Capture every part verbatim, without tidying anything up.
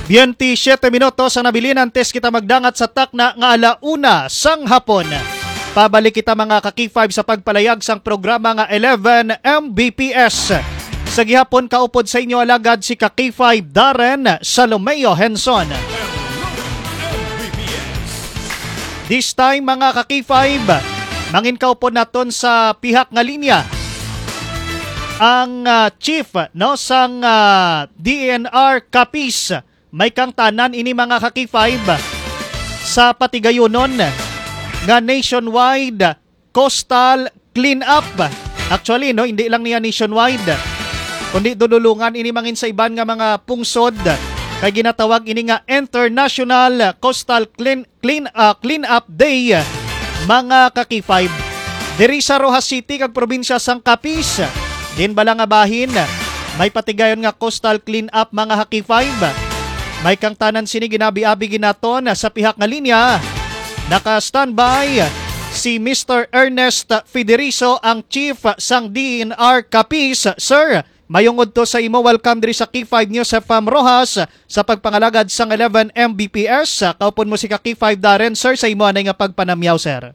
Twenty-siete minutos ang nabilin antes kita magdangat sa takna nga ala una sang hapon. Pabalik kita, mga ka-K five, sa pagpalayag sang programa nga eleven M B P S. Sa gihapon, kaupod sa inyo alagad si ka-K five Darren Salomeo Henson. This time, mga ka-K five, mangin kaupod naton sa pihak nga linya ang, ah, chief, no, sang, ah, D E N R Capiz. May kangtanan ini, mga ka-K five, sa patigayunon nga nationwide coastal cleanup. Actually, no, hindi lang niya nationwide, kundi dululungan ini mangin sa iban nga mga pungsod, kay ginatawag ini nga International Coastal Clean, Clean, ah, Cleanup Day, mga ka-K five. Diri sa Roxas City kag probinsya sang Capiz, din bala nga bahin, may patigayon nga coastal cleanup, mga ka-K five. May kangtanan sini ginabi-abi ginaton sa pihak nga linya. Naka-standby si Mister Ernest Federizo, ang chief sang D E N R Capiz. Sir, mayong udto sa imo. Welcome diri sa K five News F M Roxas sa pagpangalagad sang eleven M B P S. Kaupon mo si ka K five Darren, sir, sa imo anay nga pagpanamyaw, sir.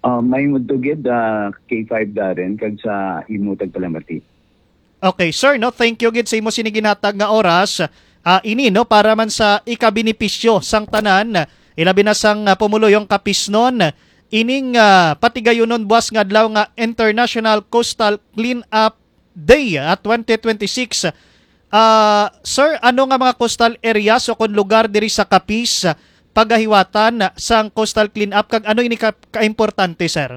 Ah, mayong udto gid, ah, K five Darren, kag sa imo tagpalamati. Okay, sir, no? Thank you gid sa imo sini ginhatag nga oras. Ah, ini, no, para man sa ikabenepisyo sang tanan, ilabi na sang, ah, pumuluyong Capiznon, ining, ah, patigayunon buas nga adlaw nga International Coastal Cleanup Day, ah, twenty twenty-six. Ah, sir, ano nga mga coastal areas o kon lugar diri sa Capiz, ah, pagahiwatan sang coastal cleanup, kag ano ini ka, kaimportante, sir?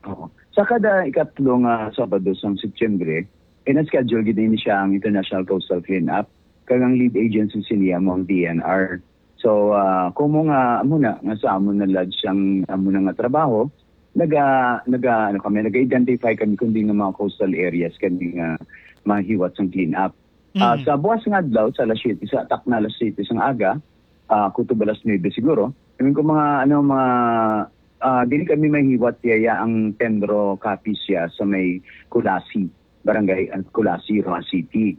Oo. Sa kada ikatlo nga Sabado sang Setyembre, ina-schedule gid ini siya ang International Coastal Cleanup, kag ang lead agency siniya mo ang D N R. So, ah, kumo nga amo na nga sa amo na lodge ang amo na nga trabaho, naga naga ano kami, naga-identify kami kundi nga mga coastal areas kami nga mahiwat sang cleanup. Ah, Mm. Sa buwas nga adlaw, sa alas siyete, sa takna alas siyete sang aga, ah, kutob alas nuebe siguro. I mean, kung mga, ano, mga, ah, dili kami mahiwat, yaya ang Tendro Capiz siya sa may Culasi, Barangay, ah, Culasi, Roxas City.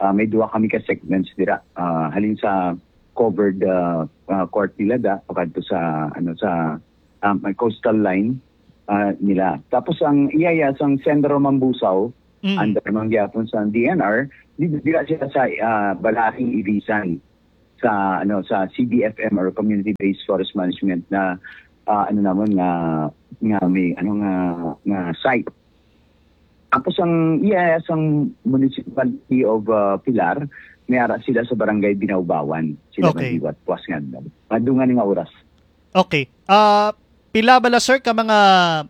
Ah, may duha kami ka segments dira. Ah, halin sa covered, ah, ah, court nila da, pakadto sa, ano, sa, ah, may coastal line, ah, nila. Tapos ang iyaya sang Sendro Mambusao, Mm. under man gyapon sa D N R, di, dira sila sa, ah, Balaring Irisan, sa, ano, sa C B F M or Community Based Forest Management na, ah, ano namon nga, nga may, ano, nga, nga site. Tapos ang iyaya sang Municipality of, ah, Pilar, may ara sila sa Barangay Binaubawan. Sila Okay. Madiwat, puas nga adlaw. Madungan nga oras. Okay. Ah, pila bala, sir, ka mga,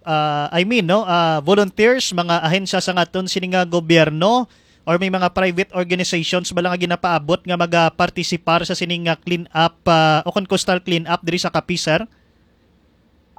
ah, I mean, no, ah, volunteers, mga ahensya sa aton sini nga gobyerno, or may mga private organizations bala nga ginapaabot nga magapartisipar sa sini nga clean up, ah, o kon coastal clean up diri sa Capiz, sir?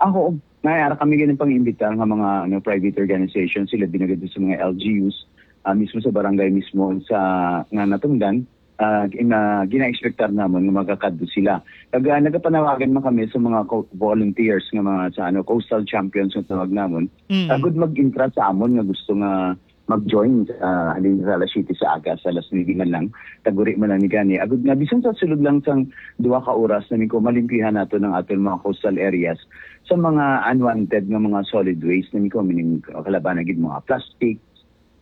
Ako, may ara kami gani pang-imbitar nga mga, ano, private organizations, sila binagad sa mga L G Us, ah, mismo sa barangay mismo sa nga natungdan, ah, gina-, gina-expectar namon nga magakadto sila. Kag, ah, nagapanawagan man kami sa mga co-, volunteers nga mga sa, ano, coastal champions nga tawag namon. Mm. Agud mag-intra sa amon nga gusto nga mag-join, ah, halin sa alas siyete sa aga, sa alas nuebe man lang, taguri man lang ni gani. Agud nga, bisan sa sulod lang sang duha ka oras, na ko malimpyuhan nato ang aton mga coastal areas sa mga unwanted nga mga solid waste, na ko, meaning, kalaban na gid mga plastic,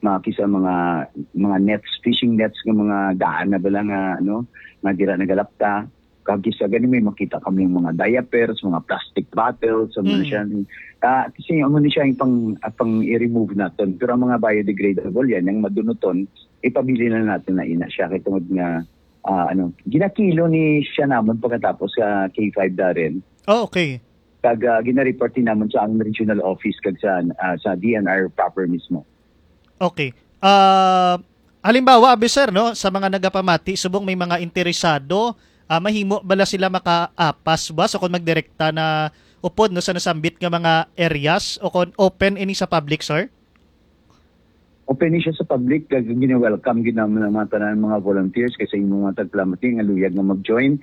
mga kisa mga, mga nets, fishing nets nga mga daan na bala nga, ano, nga dira nagalapta. Kag kisa gani may makita kami yung mga diapers, mga plastic bottles, amo na Mm. siya. Ah, kasi amo na siya yung pang, ah, pang i-remove naton. Pero ang mga biodegradable yan, yung madunuton, ipabili na natin na ina siya. Kay tungod nga, ah, ano, ginakilo ni siya namon pagkatapos sa K five Darren. Oh, okay. Kag, ah, gina-report din naman sa ang regional office kag sa, ah, sa D N R proper mismo. Okay. Ah, halimbawa, abi, sir, no, sa mga nagapamati, subong may mga interesado, ah, mahimo bala sila makaapas ba sa kon magdirekta na upod, no, sa nasambit nga mga areas o kon open ini sa public, sir? Open ni siya sa public, kag gina-welcome gid naman ang mga tanan, mga volunteers, kay sa inyong mga tagpalamati nga luyag nga mag-join.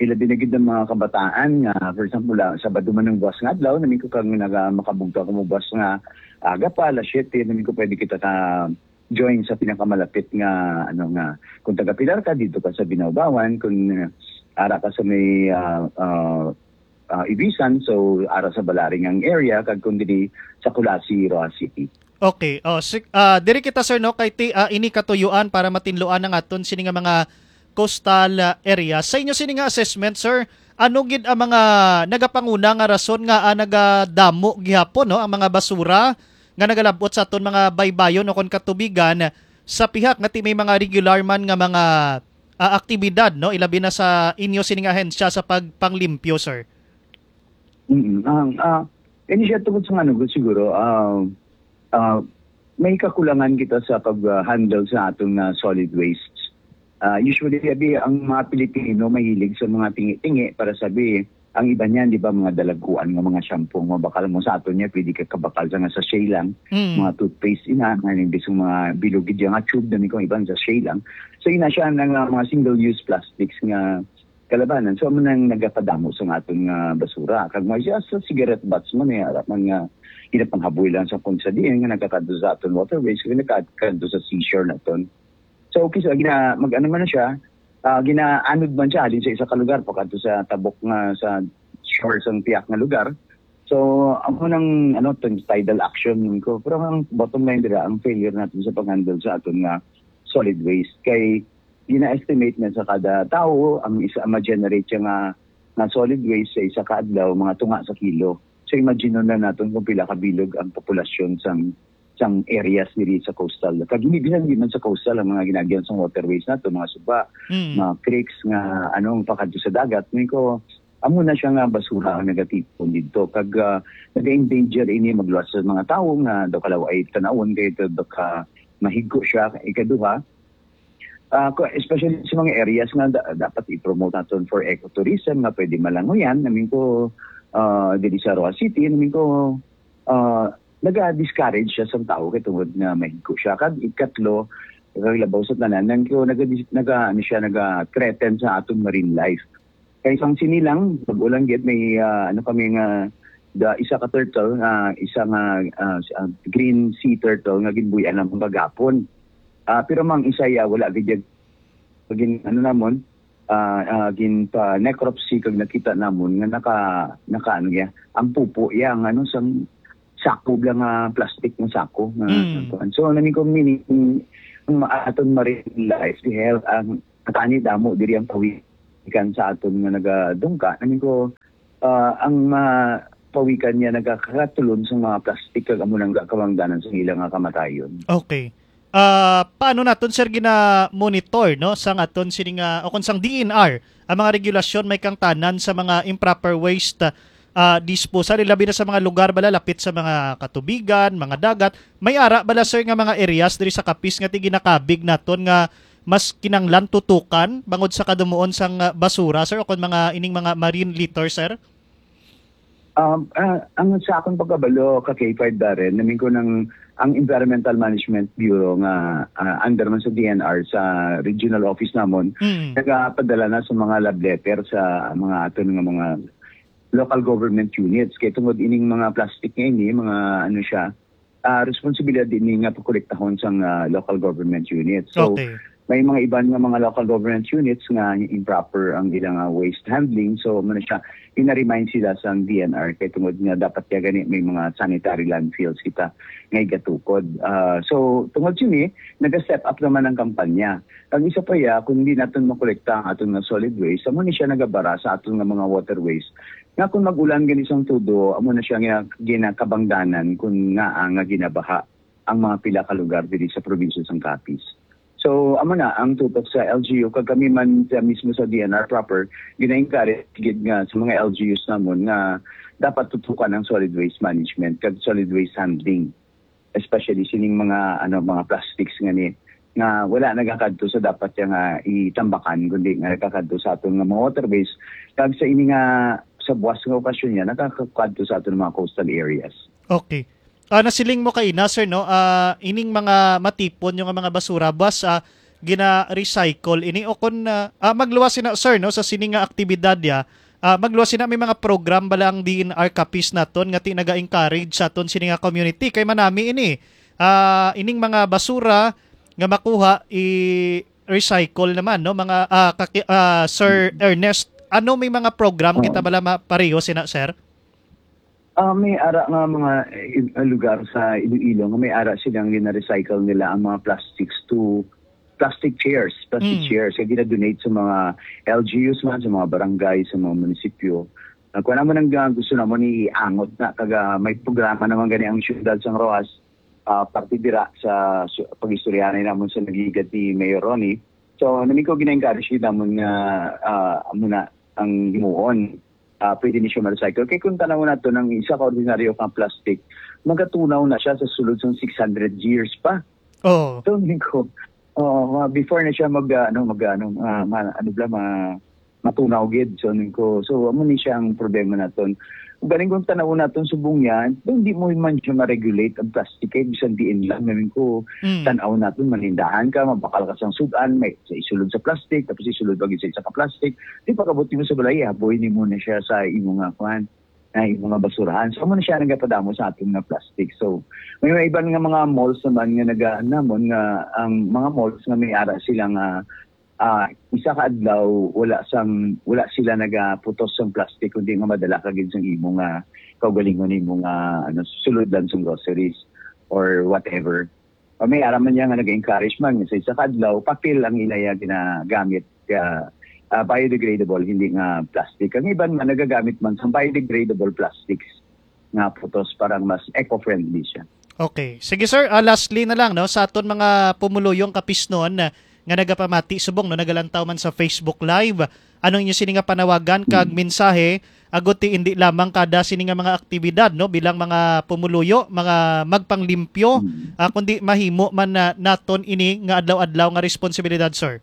Ilabi na gid ang mga kabataan nga, for example, ah, Sabado man ang buwas nga adlaw, namin ko kang naga-, makabugto ako mo buwas nga aga pa, alas siyete, namin ko pwede kita ka, join sa pinakamalapit nga, ano nga, kung taga Pilar ka, dito ka sa Binaubawan, kung, uh, ara ka sa may, uh, uh, uh, Ibisan, so ara sa Balaringang area, kag kung diri sa Culasi, Roxas City. Okay. Oh, si, ah, diri kita, sir, no, kay ti, ah, ini katuyuan para matinluan ang aton sini nga mga coastal, ah, area. Sa inyo sini nga assessment, sir, ano gid ang mga nagapanguna nga rason nga, ah, nagadamo gihapon, no, ang mga basura nga nagalabot sa aton mga baybayon o kon katubigan sa pihak nga ti may mga regular man nga mga, ah, aktibidad, no, ilabi na sa inyo sini nga ahensya sa pagpanglimpyo, sir? Mm, ang, ah, ini siya tungod sa ano, siguro, ah, ah, may kakulangan kita sa pag, ah, handle sa aton nga solid waste. Ah, usually, abi, ang mga Pilipino mahilig sa mga tingi-tingi para sabi, ang iba niyan, di ba, mga dalagkuan nga mga shampoo, nga bakal mo sa aton niya, pwede ka kabakal sa nga sachet lang, Mm. mga toothpaste, ina, nga imbis nga mga bilog gid nga tube, dami kong iban sachet lang. So, ina siya na nga mga single-use plastics nga kalabanan. So, amo nang nagapadamo sa aton nga basura. Kag mga siya sa cigarette butts man, eh, ara man nga ginapanghaboy lang sa kung sa diin nga nagakadto sa aton waterways, kag nagakadto sa seashore naton. So, okay, so, gina-, mag-ano man na siya, ah, ginaanod man siya halin sa isa ka lugar, pakadto sa tabok nga, sa shore sang tiyak nga lugar. So, amo nang, ano, tong tidal action ko. Pero ang bottom line dira, ang failure natin sa pag-handle sa aton nga solid waste. Kay, gina-estimate na sa kada tawo, ang isa, ma-generate siya nga, nga solid waste sa isa ka adlaw, mga tunga sa kilo. So, imagine na natin kung pila ka bilog ang populasyon sang, sang areas diri sa coastal. Kag hindi, bisan di man sa coastal, ang mga ginaagyan sang waterways nato, mga suba, Mm. mga creeks, nga, ano, pakadto sa dagat. Ngayon ko, amo na siya nga basura ang nagatipon dito. Kag, ah, naga-endanger ini, magluwas sa mga tawo nga daw kalaw ay tanawon kay ito daw ka mahigko siya. Ikaduha, ah, ko-, especially sa mga areas nga da-, dapat i-promote naton for ecotourism nga pwede malangoyan. Namin ko, ah, diri sa Roa City, namin ko, ah, naga-discourage siya sa tao kay tungod nga mahigko siya. Kag ikatlo, kag labaw sa tanan, nang ko naga-, naga-, ano siya, naga-threaten sa atong marine life. Kay sang sini lang, bag-o lang gid, may, ah, ano kami nga, da, isa ka turtle, ah, isa nga, ah, s-, ah, green sea turtle nga ginbuy-an namon kagapon. Ah, pero mang isa ya, wala gid ya, gin, ano namon, ah, ah, gin pa necropsy kag nakita namon nga naka, naka ano ya, ang pupo ya, ang ano, sang sako lang nga plastic nga sako nga, Mm. kuwan. So, nami ko meaning, ang aton marine life, the health, ang Atani damo diri ang pawikan sa aton nga nagadungka. Namin ko, ah, ang mapawikan niya nagakatulon sa mga plastic kag amo nang gakabangdanan sa ila nga kamatayon. Okay. Ah, paano naton, sir, gina-monitor, no, sang aton sini nga, o kung sang D N R, ang mga regulasyon may kangtanan sa mga improper waste, ah, disposal, ilabi na sa mga lugar bala lapit sa mga katubigan, mga dagat? May ara bala, sir, nga mga areas diri sa Capiz nga ti ginakabig naton nga mas kinanglan tutukan bangod sa kadumuon sang, ah, basura, sir, o kon mga ining mga marine litter, sir? Um, ah, ang sa akong pagkabalo, ka K five Darren, namin ko ng, ang Environmental Management Bureau nga, ah, under man sa D N R, sa regional office namon, Mm. nagapadala na sa mga love letter sa mga aton nga mga local government units. Kay tungod ining mga plastic nga ini, mga ano siya, ah, responsibilidad din nga pakolektahon sang, ah, local government unit. So, Okay. may mga iban nga mga local government units nga improper ang ilang, ah, waste handling. So, muna siya, ina-remind sila sang D N R kay tungod nga dapat kaya gani may mga sanitary landfills kita nga igatukod. Ah, so, tungod sini, naga-step up naman ang kampanya. Ang isa pa ya, kung hindi natin makolekta ang aton nga solid waste, amo ni siya nagabara sa aton nga mga waterways. Nga kung mag-ulan gani sang tudo, amo na siya nga ginakabangdanan kung nga, ah, nga ginabaha ang mga pila ka lugar diri sa probinsya sang Capiz. So, amo na ang tutok sa L G U, kag kami man sa mismo sa D N R proper, gina-encourage gid nga sa mga L G Us namon nga dapat tutukan ang solid waste management kag solid waste handling, especially sining mga, ano, mga plastics nga ni, nga wala nagakadto sa dapat siya nga itambakan, kundi nga nagakadto sa aton nga mga waterways, kag sa ini nga, sa buwas nga okasyon niya, nagakadto sa aton mga coastal areas. Okay. Ah, nasiling mo kaina, sir, no? Ah, ining mga matipon yung mga basura, buwas, ah, gina-recycle ini o kon, ah, ah, magluwas sina, sir, no, sa sini nga aktibidad ya, ah, magluwas sina, may mga program bala ang D N R Capiz naton nga ti naga-encourage sa aton sini nga community kay manami ini. ah, ining mga basura nga makuha, i-recycle naman, no? Mga, ah, kaki-, ah, Sir Ernest, ano may mga program kita bala ma-, pareho sina, sir? Ah, may ara nga mga, eh, lugar sa Iloilo nga may ara silang gina-recycle nila ang mga plastics to plastic chairs, plastic Mm. chairs, kaya gina-donate sa mga L G Us man, sa mga barangay, sa mga munisipyo. Ah, kung ano man ang, ah, gusto namon iangot na, kag, ah, may programa naman gani ang siyudad sang Roxas, ah, parte dira sa su-, pag-istoryahanay namon sa nagligad ni Mayor Ronnie. So, namin ko gina-encourage namon nga, ah, amo na ang himuon. Ah, pwede ni siya ma-recycle. Kay kung tanaw nato ng isa ka ordinaryo nga plastic, magatunaw na siya sa sulod sang six hundred years pa. Oo. So, yun ko, oo, mga before na siya mag, ah, ano, mag, ano, ah, ma-, ano bala, ma-, matunaw gid. So, yun ko, so, amo ni siya ang problema naton. Galing kung tanaw naton subong yan, hindi mo man siya ma-regulate ang plastic kay bisan diin lang. Namin ko, Mm. tanaw naton, manindahan ka, mabakal ka sang sudan, may sa isulod sa plastic, tapos isulod pa gid sa isa ka plastic. Di pagabot nimo sa balay, ihaboy nimo na siya sa imo nga kwan, na imo nga basurahan. So, amo na siya nagapadamo sa aton nga plastic. So, may mga iban nga mga malls naman nga naga-, namon nga ang mga malls nga may ara sila nga, ah, isa ka adlaw wala sang, wala sila nagaputos sang plastic, kundi nga madala ka gid sang imo nga kaugalingon, imo nga, ano, sulod lang sang groceries or whatever. O may ara man niya nga nag-encourage man nga sa isa ka adlaw, papel ang ilaya ginagamit, ah, ah, biodegradable, hindi nga plastic. Ang iban man nagagamit man sa biodegradable plastics nga putos para mas eco-friendly siya. Okay. Sige, sir, ah, lastly na lang, no, sa aton mga pumuluyong kapisnon, ah, nga nagapamati subong, no, nagalantaw man sa Facebook Live, ano inyo sini nga panawagan kag Mm. mensahe agud ti indi lamang kada sini nga mga aktibidad, no, bilang mga pumuluyo, mga magpanglimpyo, Mm. ah, kundi mahimo man na naton ini nga adlaw-adlaw nga responsibilidad, sir?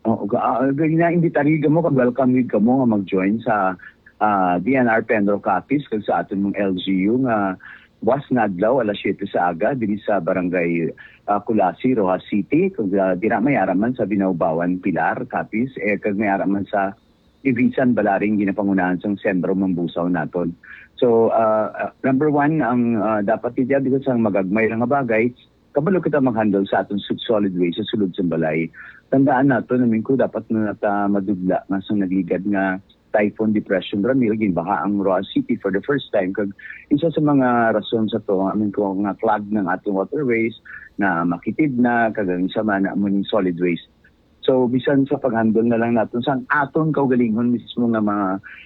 Oo, ga-, ah, gina-, imbitari kamo kag welcome gid kamo nga mag-join sa, ah, D N R Penro Capiz kag sa aton mga L G U nga buwas nga adlaw, alas siyete sa aga, diri sa Barangay, ah, Culasi, Roxas City, kag, ah, dira may ara man sa Binaubawan, Pilar, Capiz, eh, kag may ara man sa Ivisan, Balaring, ginapangunahan sang Sentro Mambusao naton. So, ah, ah, number one, ang, ah, dapat ti dia, bisan sang magagmay lang nga bagay, kabalo kita mag-handle sa aton su-, solid waste sa sulod sang balay. Tandaan naton, I mean, ko dapat na ta madudla nga sang nagligad nga Typhoon Depression Ramil, ginbaha ang Roxas City for the first time. Kag isa sa mga rason sa to, I mean, ko nga clog ng ating waterways na makitid na, kag ang isa man, amo ning solid waste. So, bisan sa pag-handle na lang naton sang aton kaugalingon mismo nga mga,